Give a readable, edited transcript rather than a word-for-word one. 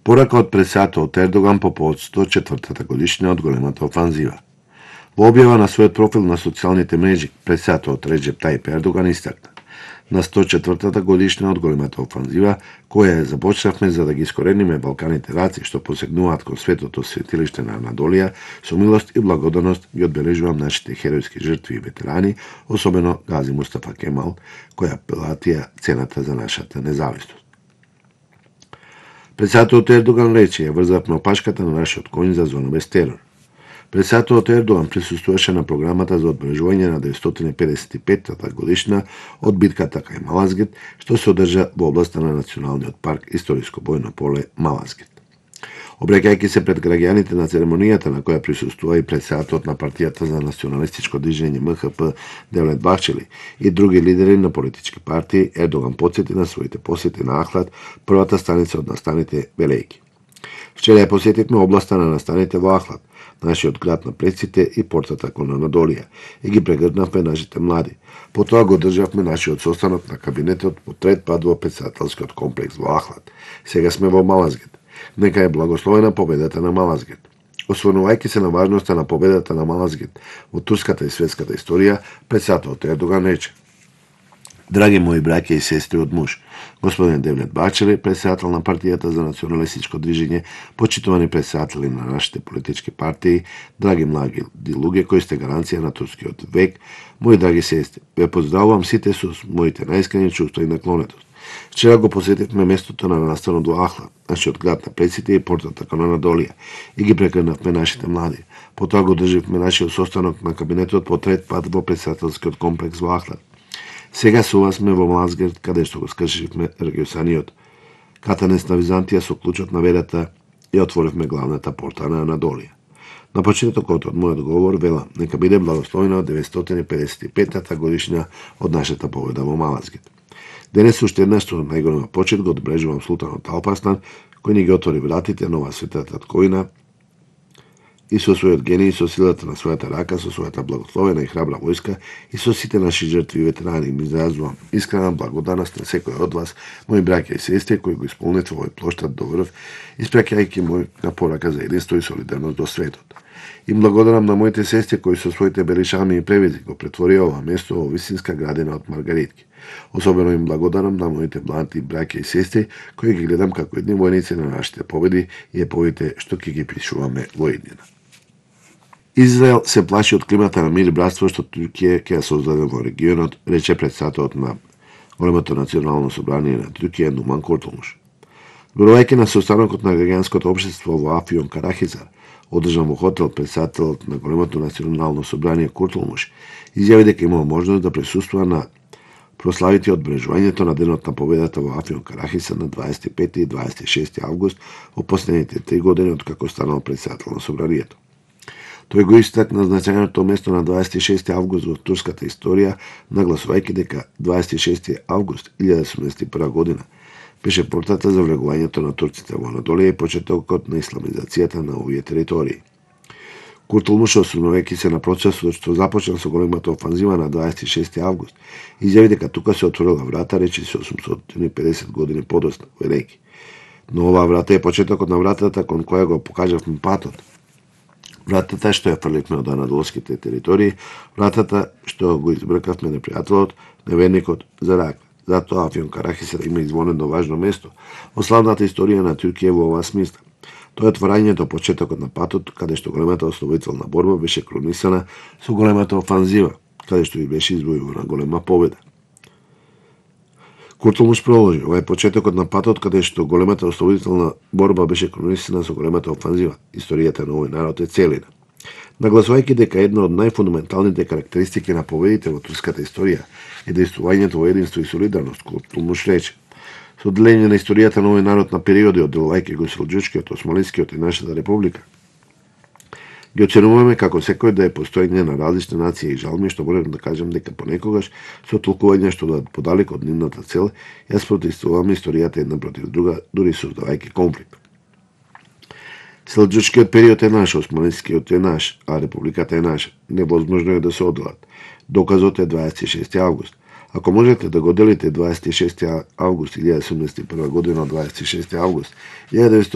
Порака од председателот Ердоган по повод 104-та годишнина од големата офанзива. Во објава на својот профил на социјалните мрежи, председателот Реджеп Тајип Ердоган истакна: на 104-та годишнина од големата офанзива, која ја започнавме за да ги искорениме Балканите раци што посегнуваат кон светото светилиште на Анадолија, со милост и благодарност ги одбележувам нашите херојски жртви и ветерани, особено Гази Мустафа Кемал, која платија цената за нашата независност. Председателот Ердоган рече: ја врзавме опашката на нашиот конј за зона без терор. Председателот Ердоган присуствуваше на програмата за одбележување на 955-та годишна од битката кај Малазгет, што се одржа во областа на Националниот парк Историско бојно поле Малазгет. Обраќајќи се пред граѓаните на церемонијата на која присуствува и председателот на партијата за националистичко движење МХП Девлет Бахчели и други лидери на политички партии, Ердоган потсети на своите посети на Ахлад, првата станица од настаните Велејки. Вчера ја посетивме областа на настаните во Ахлад, нашиот град на предците и портата кон Анадолија, и ги прегрднавме нашите млади. Потоа го државме нашиот состанок на кабинетот по трет пат во претседателскиот комплекс во Ахлад. Сега сме во Малазгет. Нека е благословена победата на Малазгет. Осврнувајќи се на важноста на победата на Малазгет во турската и светската историја, председателот Ердоган рече: драги мои браќа и сестри од муж, господин Девлет Бахчели, председател на партијата за националистичко движење, почитувани председатели на нашите политички партии, драги млади луѓе кои сте гаранција на турскиот век, мои драги сестри, ве поздравувам сите со моите најискрени чувства и наклонетост. Вчера го посетивме местото на настанот во Ахлад, нашиот град на предците и портата кон Анадолија, и ги прекрнавме нашите млади. Потоа го држивме нашиот состанок на кабинетот по трет пат во претседателскиот комплекс во Ахлад. Сега со вас сме во Малазгет, каде што го скршивме региосаниот катанец на Византија со клучот на верата и отворивме главната порта на Анадолија. На почетокот од мојот говор велам: нека биде благословена 955-та годишна од нашата победа во Малазгет. Денес уште еднаш со најголема почит го одбележувам султанот Алпарслан, кој ни ги отвори вратите на оваа света татковина и со својот гений, со силата на својата рака, со својата благословена и храбра војска и со сите наши жртви и ветерани ми изразувам искрена благодарност на секој од вас, мои браќа и сестри, кои го исполнете овој плоштад до врв, испраќајќи моја порака за единство и солидарност до светот. Им благодарам на моите сестри кои со своите белишами и превизи го претворија ова место во вистинска градина од маргаритки. Особено им благодарам на моите млади браќа и сестри кои ги гледам како едни војници на нашите победи и еповите што ќе ги пишуваме во иднина. Израел се плаши од климата на мир и братство што Туркија ќе ја создаде во регионот, рече председателот на Големото национално собрание на Туркија Нуман Куртулмуш. Зборувајќи на состанокот на граѓанското општество во Афион Карахизар, одржан во хотел, председателот на Големото национално собрание Куртулмуш изјави дека имал можност да присуствува на прославите одбележувањето на денот на победата во Афион Карахизар на 25 и 26 август во последните 3 години од како станал председател на собранието. Тој го истакна значајното место на 26 август во турската историја, нагласувајќи дека 26 август 1971 година беше портата за влегувањето на турците во Анадолија и почетокот на исламизацијата на овие територии. Куртулмуш, осврнувајќи се на процесот што започна со големата офанзива на 26 август, изјави дека тука се отворила врата, речи се 850 години подоцна, велејки. Но оваа врата е почетокот на вратата кон која го покажавме патот. Вратата што ја фрливме од анадолските територии, вратата што го избркавме непријателот, неверникот за рак. Затоа Афион Карахизар има извонено важно место во славната историја на Туркија во оваа смисла. Тоа е отворањето почетокот на патот, каде што големата ослободителна борба беше кронисана со големата офанзива, каде што и беше извојувана голема победа. Куртулмуш продолжи: ова е почетокот на патот каде што големата ослободителна борба беше кронисана со големата офанзива. Историјата на овој народ е целина. Нагласувајќи дека една од најфундаменталните карактеристики на победите во турската историја е действувањето во единство и солидарност, Куртулмуш рече: со делење на историјата на овој народ на периоди од делувајќи го селџуčкиот, османлискиот и нашата република, ги оценуваме како секој да е постоење на различни нации и жалми, што можам да кажам дека понекогаш со толкување што да подалек од нивната цел, ја спротивствуваме историјата една против друга, дури создавајќи конфликт. Селџуčкиот период е наш, османлискиот е наш, а републиката е наша. Невозможно е да се одделат. Доказот е 26 август. Ако можете да го делите 26 август 1971 година од 26 август 1971